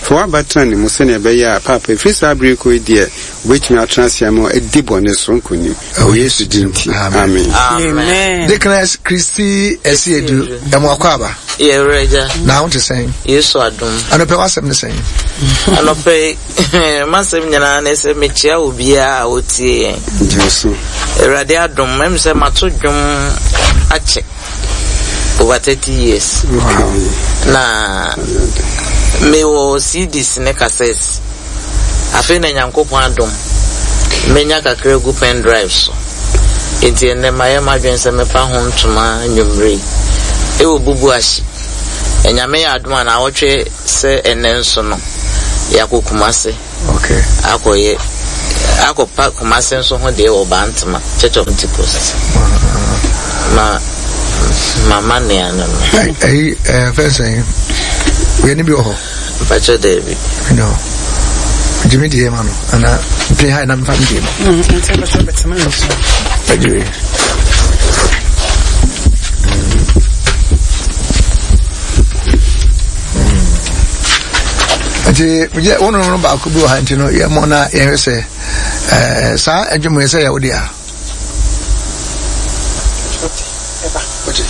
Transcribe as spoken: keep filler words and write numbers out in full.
Fa w'aba tena ne mu sɛnea ɛbɛyɛ a, Paapa, ɛfiri saa bere yi kɔ yi deɛ, obɛtumi atena ase ama adi bɔne so nkonim. Wɔ Yesu din nti, amen. Amen. Deaconess Christy Esiedu, ɛmu akɔ aba. Yɛwura Na ho te sɛn? Yesu adom. Anɔpɛ w'asɛm ne sɛn? Anɔpɛ m'asɛm nyinaa ne sɛ mekyia obiara a ɔtie yɛn. Gye so. Awurade adom, mɛm sɛ mato dwom akyɛ over thirty years. Okay. Na mewɔ C Ds ne cassettes. Afei na Nyankopɔn adom, menya kakra gu pen drive so. Nti ɛnnɛ mayɛ m'adwene sɛ mɛpa ho ntoma nnwummerɛ yi. Ɛwɔ Bubuashi. Ɛnyame yɛ adom a na awɔtwe sɛ ɛnnɛ nso no, yɛakɔ Kumase. Okay. Akɔyɛ akɔpa Kumase nso ho deɛ wɔ Bantama Church of Pentecost. Ma mama nea no no. Ɛyi ɛɛ fɛn sɛn? Wei ni bi wɔ hɔ. Mpakyɛ daabi. No. Gyimi deɛ ma no ana pin ha na mfa mi deɛ ma. Nti ɛbɛsɛ bɛtena ne so. Ɛgye wei. Nti megye wo no no baako bi wɔ ha, nti no yɛmmɔ na yɛhwɛ sɛ ɛɛ saa adwuma yi sɛ yɛ wo deɛ a. Ɛba. Wote?